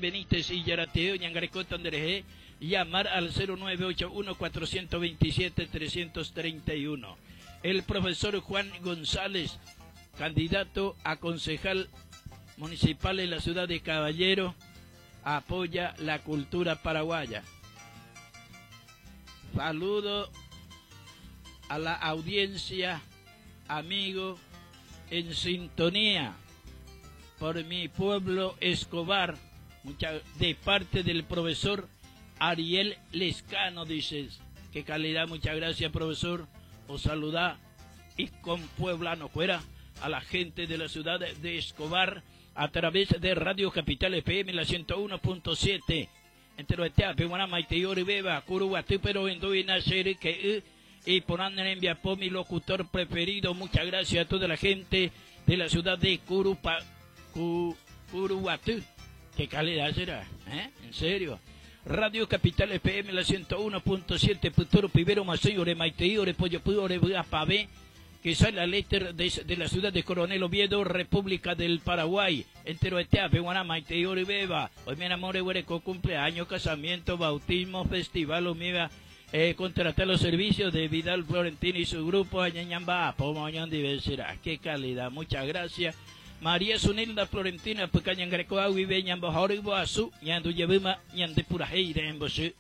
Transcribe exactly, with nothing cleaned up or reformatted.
Benítez y Yarateo, Ñangareco Tandereje, llamar al cero nueve ocho uno cuatrocientos veintisiete trescientos treinta y uno. El profesor Juan González, candidato a concejal municipal en la ciudad de Caballero, apoya la cultura paraguaya. Saludo a la audiencia, amigo, en sintonía por mi pueblo Escobar, mucha, de parte del profesor Ariel Lescano, dices. Qué calidad, muchas gracias, profesor. Os saluda y con Pueblano fuera a la gente de la ciudad de Escobar a través de Radio Capital F M, la ciento uno punto siete. Entero este, Peguana, Maite, Ori, Beba, Curuguatú, pero en Duina, Seri, que, y por andar en Viapó, mi locutor preferido. Muchas gracias a toda la gente de la ciudad de Curupa, Cu, Curuguatú. Qué calidad será, ¿eh? En serio. Radio Capital F M, la ciento uno punto siete, Puturo, Pibero, Macei, Ore, Maite, Ore, Pollo, Puyo, Ore, Bua, Pavé, que sale al éter de, de la ciudad de Coronel Oviedo, República del Paraguay. Entero Eteape, Guanama, Maite, Ore, Beba. Hoy me enamoré, huereco, cumpleaños, casamiento, bautismo, festival, omiga. Eh, contratar los servicios de Vidal Florentino y su grupo, Añañamba, Pomoñón, Diversidad. Qué calidad, muchas gracias. María Sunilda Florentina, Pucañan Greco, Agui, Beñan, Bojori, Boazú, Ñandu, Yebima, Ñande, Purajeire, en Bosú.